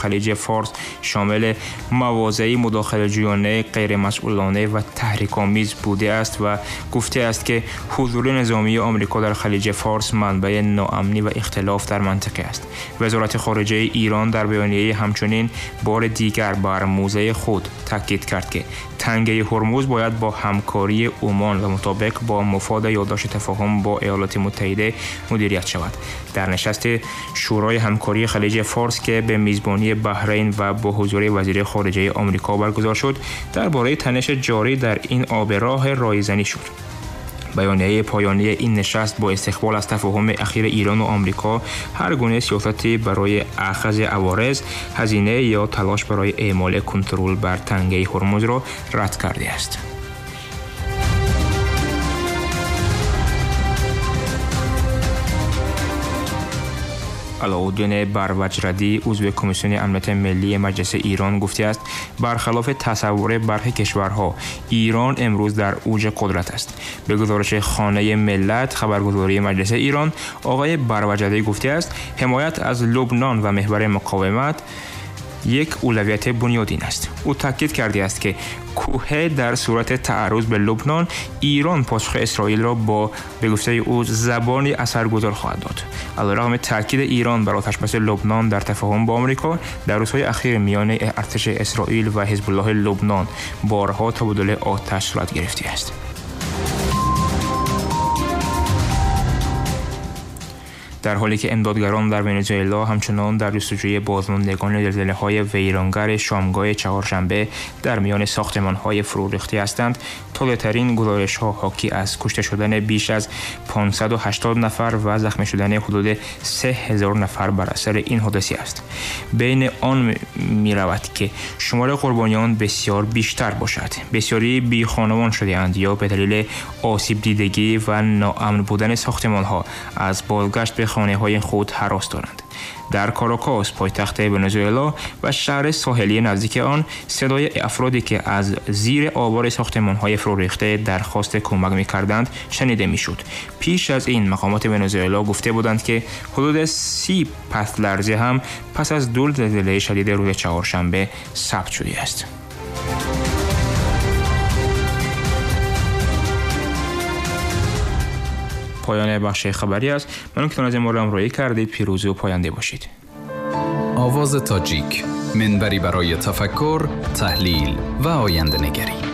خلیج فارس شامل مواضع مداخله‌جویانه، غیرمسئولانه و تحریک‌آمیز بوده است و گفته است که حضور نظامی آمریکا در خلیج فارس منبع ناامنی و اختلاف در منطقه است. وزارت خارجه ایران در بیانیه همچنین بار دیگر بر موضع خود تاکید کرد که تنگه هرمز باید با همکاری عمان و مطابق با مفاد یادداشت تفاهم با ایالات متحده مدیریت شود. در نشست شورای همکاری خلیج فارس که به میزبانی بحرین و با حضور وزیر خارجه آمریکا برگزار شد، درباره تنش جاری در این آبراه رایزنی شد. بیانیه پایانی این نشست با استقبال از تفاهم اخیر ایران و آمریکا هر گونه سیاستی برای اخذ عوارض، هزینه یا تلاش برای اعمال کنترل بر تنگه هرمز را رد کرده است. علاءالدین بروجردی، عضو کمیسیون امنیت ملی مجلس ایران، گفته است برخلاف تصور برخی کشورها، ایران امروز در اوج قدرت است. به گزارش خانه ملت خبرگزاری مجلس ایران، آقای بروجردی گفته است حمایت از لبنان و محور مقاومت یک اولویت بنیادین است. او تاکید کرده است که کوه در صورت تعرض به لبنان، ایران پاسخ اسرائیل را با به گفته او زبانی اثرگذار خواهد داد. علیرغم تاکید ایران بر آتش‌بس لبنان در تفاهم با آمریکا، در روزهای اخیر میان ارتش اسرائیل و حزب الله لبنان بارها تبادل آتش صورت گرفته است. در حالی که امدادگران در ونزوئلا همچنان در جستجوی بازماندگان زلزله‌های ویرانگر شامگاه چهارشنبه در میان ساختمان‌های فرو ریخته هستند، تازه‌ترین گزارش‌ها حاکی از کشته شدن بیش از 580 نفر و زخمی شدن حدود 3000 نفر بر اثر این حادثه است. بین آن می‌رود که شمار قربانیان بسیار بیشتر باشد. بسیاری بی خانمان شده‌اند یا به دلیل آسیب دیدگی و ناامن بودن ساختمان‌ها از بازگشت به خانه‌های خود هراس دارند. در کاراکاس، پایتخت ونزوئلا و شهر ساحلی نزدیک آن، صدای افرادی که از زیر آوار ساختمان‌های فرو ریخته درخواست کمک می‌کردند شنیده می‌شد. پیش از این مقامات ونزوئلا گفته بودند که حدود 30 پس لرزه هم پس از دو زلزله شدید روز چهارشنبه ثبت شده است. پایان بخش خبری است. ممنون که از ما را همراهی کردید. پیروز و پاینده باشید. آواز تاجیک، منبری برای تفکر، تحلیل و آینده نگری.